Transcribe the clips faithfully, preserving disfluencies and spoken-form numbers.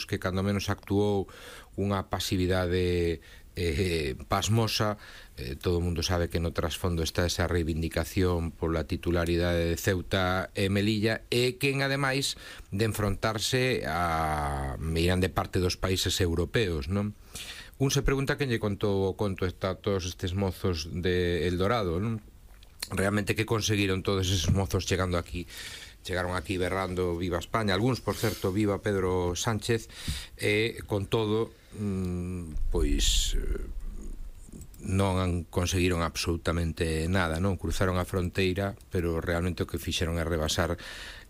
que cando menos actuou unha pasividade eh, pasmosa. Eh, todo o mundo sabe que no trasfondo está esa reivindicación pola titularidade de Ceuta e Melilla, e que en ademais de enfrontarse a miran de parte dos países europeos, non? Un se pregunta quen lle contou o conto a todos estes mozos de El Dorado, non? Realmente que conseguiron todos esos mozos chegando aquí? Chegaron aquí berrando viva España, algúns, por certo, viva Pedro Sánchez, e con todo mmm, pois non conseguiron absolutamente nada, non? Cruzaron a fronteira, pero realmente o que fixeron é rebasar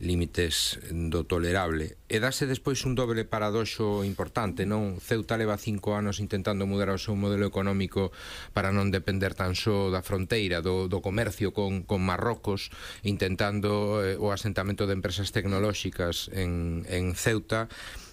límites do tolerable. E dase despois un doble paradoxo importante, non? Ceuta leva cinco anos intentando mudar o seu modelo económico para non depender tan só da fronteira, do, do comercio con, con Marrocos, intentando eh, o asentamento de empresas tecnolóxicas en, en Ceuta,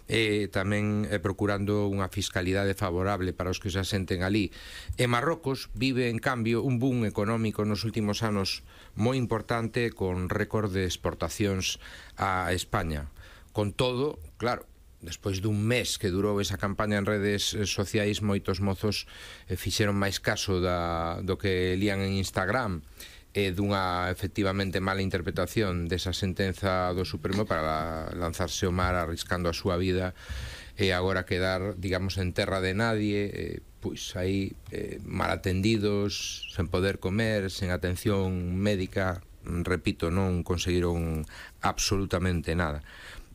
e tamén eh, procurando unha fiscalidade favorable para os que se asenten ali. E Marrocos vive, en cambio, un boom económico nos últimos anos moi importante, con récord de exportacións a España. Con todo, claro, despois dun mes que durou esa campaña en redes sociais, moitos mozos eh, fixeron máis caso da, do que lían en Instagram, e dunha efectivamente mala interpretación desa sentenza do Supremo para lanzarse ao mar arriscando a súa vida e agora quedar, digamos, en terra de nadie, eh, pois aí eh, mal atendidos, sen poder comer, sen atención médica. Repito, non conseguiron absolutamente nada.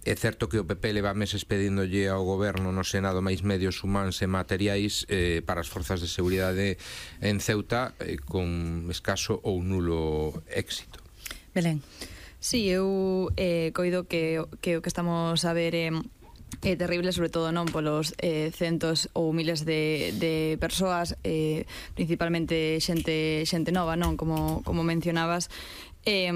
É certo que o P P leva meses pedíndolle ao goberno no Senado máis medios humanos e materiais eh, para as forzas de seguridade en Ceuta, eh, con escaso ou nulo éxito. Belén. Sí, eu eh, coido que, que o que estamos a ver é eh, terrible, sobre todo non polos eh, centos ou miles de, de persoas, eh, principalmente xente xente nova, non? Como, como mencionabas, Eh,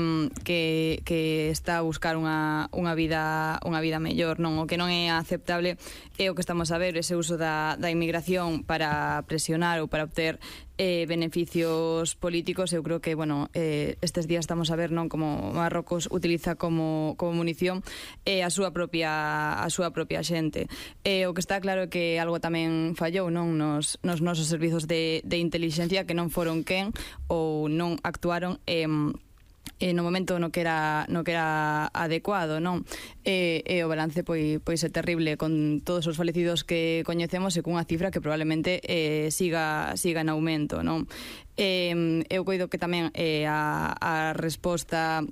que, que está a buscar unha, unha vida unha vida mellor, non? O que non é aceptable é o que estamos a ver, ese uso da, da inmigración para presionar ou para obter eh, beneficios políticos. Eu creo que, bueno, eh, estes días estamos a ver, non, como Marrocos utiliza como, como munición eh, a súa propia a súa propia xente. Eh, o que está claro é que algo tamén fallou, non, nos, nos nosos servizos de, de inteligencia, que non foron quen ou non actuaron eh, Eh, no momento no que era no que era adecuado, non? E, e o balance pois, pois é terrible, con todos os falecidos que coñecemos e cunha cifra que probablemente eh, siga siga en aumento, non? Eh, eu coido que tamén eh, a, a resposta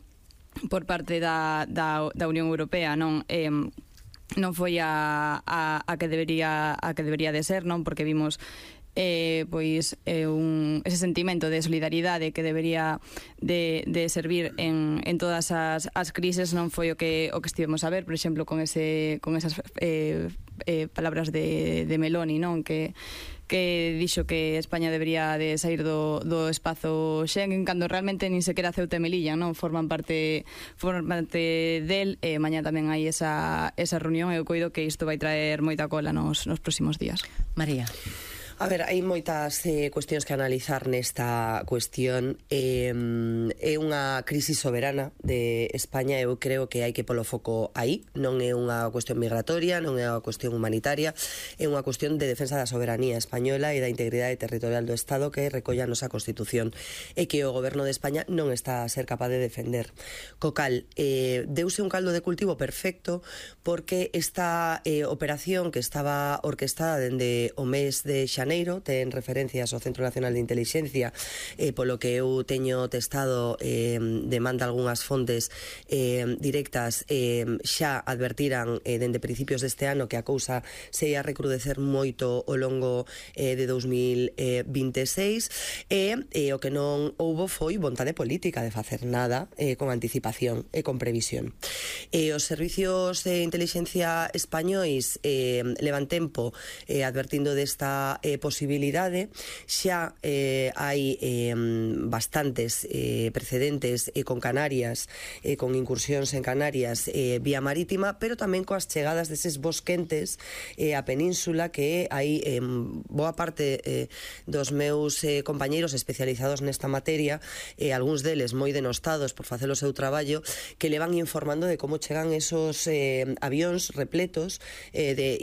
por parte da, da, da Unión Europea, non? Eh, non foi a, a, a que debería a que debería de ser, non? Porque vimos Eh, pois eh, un, ese sentimento de solidaridade que debería de, de servir en, en todas as, as crises non foi o que o que estivemos a ver, por exemplo, con ese con esas eh, eh, palabras de, de Meloni, non? Que que dixo que España debería de sair do, do espazo Schengen, cando realmente nin sequera Ceuta e Melilla, non? Forman parte forman parte del, e mañá tamén hai esa, esa reunión, e eu coido que isto vai traer moita cola nos, nos próximos días. María. A ver, hai moitas eh, cuestións que analizar nesta cuestión. eh, É unha crise soberana de España. Eu creo que hai que polo foco aí. Non é unha cuestión migratoria, non é unha cuestión humanitaria, é unha cuestión de defensa da soberanía española e da integridade territorial do Estado, que recolla a nosa Constitución e que o Goberno de España non está a ser capaz de defender. Co cal, eh, deuse un caldo de cultivo perfecto, porque esta eh, operación que estaba orquestada dende o mes de xaneiro ten referencias ao Centro Nacional de Intelixencia, eh, polo que eu teño testado, eh, demanda algunhas fontes eh, directas, eh, xa advertiran eh, dende principios deste ano que a cousa se ia recrudecer moito ao longo eh, de dous mil vinte e seis, e eh, o que non houbo foi vontade política de facer nada eh, con anticipación e con previsión. E os servicios de inteligencia españois eh, levan tempo eh, advertindo desta eh, posibilidade. Xa eh, hai eh, bastantes eh, precedentes eh, con Canarias, eh, con incursións en Canarias eh, vía marítima, pero tamén coas chegadas deses bosquentes eh, a península, que hai eh, boa parte eh, dos meus eh, compañeiros especializados nesta materia, eh, algúns deles moi denostados por facer o seu traballo, que le van informando de como chegan esos eh, avións repletos eh, de